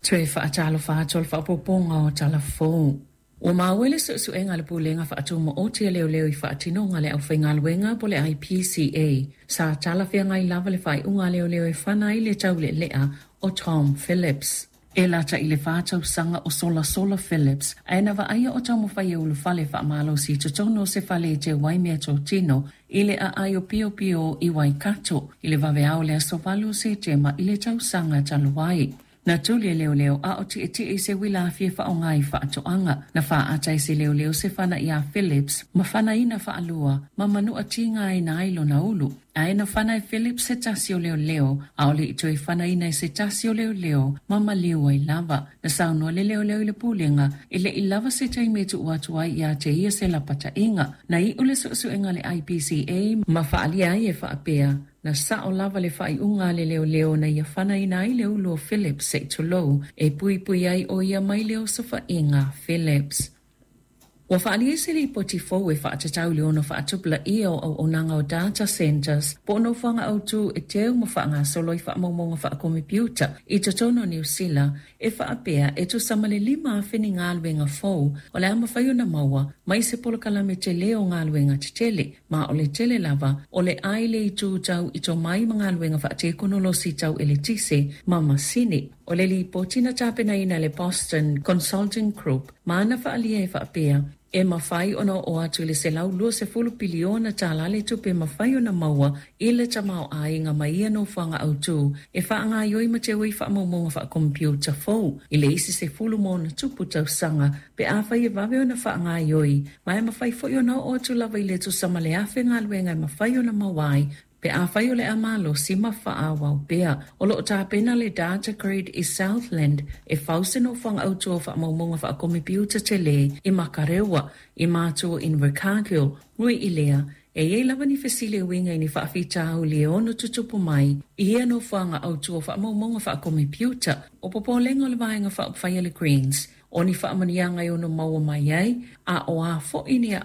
Toe faatalofa atu o le faaopoopoga o Tala Fou. Ua maua i le suesuega a le Pulega Faatumaoti a Leoleo i faatinoga a le aufaigaluega po o le IPCA, sa talafeagai lava le faaiuga a leoleo e fana ai le taulealea o Tom Phillips. E lata i le 4 tausaga o solasola Phillips, ae na vaaia o taumafai e ulufale faamalosi i totonu o se fale e teu ai meatotino i le aai o Piopio i Waikato i le vaveao o le aso 8 o Setema i le tausaga talu ai. Na tuli e leoleo a o tietie i se uila afi e faaaoga i faatoaga. Na faaata e se leoleo se fana iā Phillips ma fanaina faalua ma manua tiga aina ai lona ulu. Ae na fana e Phillips se tasi o leoleo, a o le i toe fanaina e se tasi o leoleo ma maliu ai lava. Na saunoa le leoleo i le pulega e le i lava se taimi e tuu atu ai ia te ia se lapataiga. Na iu le suesuega a le IPCA ma faaalia ai e faapea, na sao lava le faaiuga a le leoleo na ia fanaina ai le ulu o Phillips se i tulou e puipui ai o ia mai le osofaiga Phillips. Ua faaalia se lipoti fou e faatatau i le ono faatupulaia o auaunaga o data centers po o nofoaga autu e teu ma faagasolo i faamaumauga faakomepiuta i totonu o Niu Sila e faapea e tusa ma le 5,000 ni galuega fou o le a mafai ona maua mai se polokalame tele o galuega tetele, ma o le tele lava o le ai le itu tau i tomai ma galuega faatekonolosi tau eletise ma masini. O le lipoti na tapenaina e le Boston Consulting Group ma na faaalia e faapea e mafai ona oo atu i le $120 piliona le tupe mafai ona maua i le tamaoaiga mai ia nofoaga autu e faagaioi ma teu ai faamaumauga faakomepiuta fou i le isi 10+ tausaga pe afai e vave ona faagaioi, ma e mafai foi ona oo atu lava i le tusa ma le 1,000 galuega e mafai ona maua ai pe afai o le a malosi ma faaauau pea. O lo o tapena le Data Grid i Southland e fau se nofoaga autu o faamaumauga faakomepiuta tele i Makarewa, i Matua Invercargill, ui i lea, e i ai lava ni fesili e uiga i ni faafitauli e ono tutupu mai i ia nofoaga autu o faamaumauga faakomepiuta. O popolega o le Vaega Faaupufai a le Greens, o ni faamanuiaga e ono maua mai ai, a o a foi ni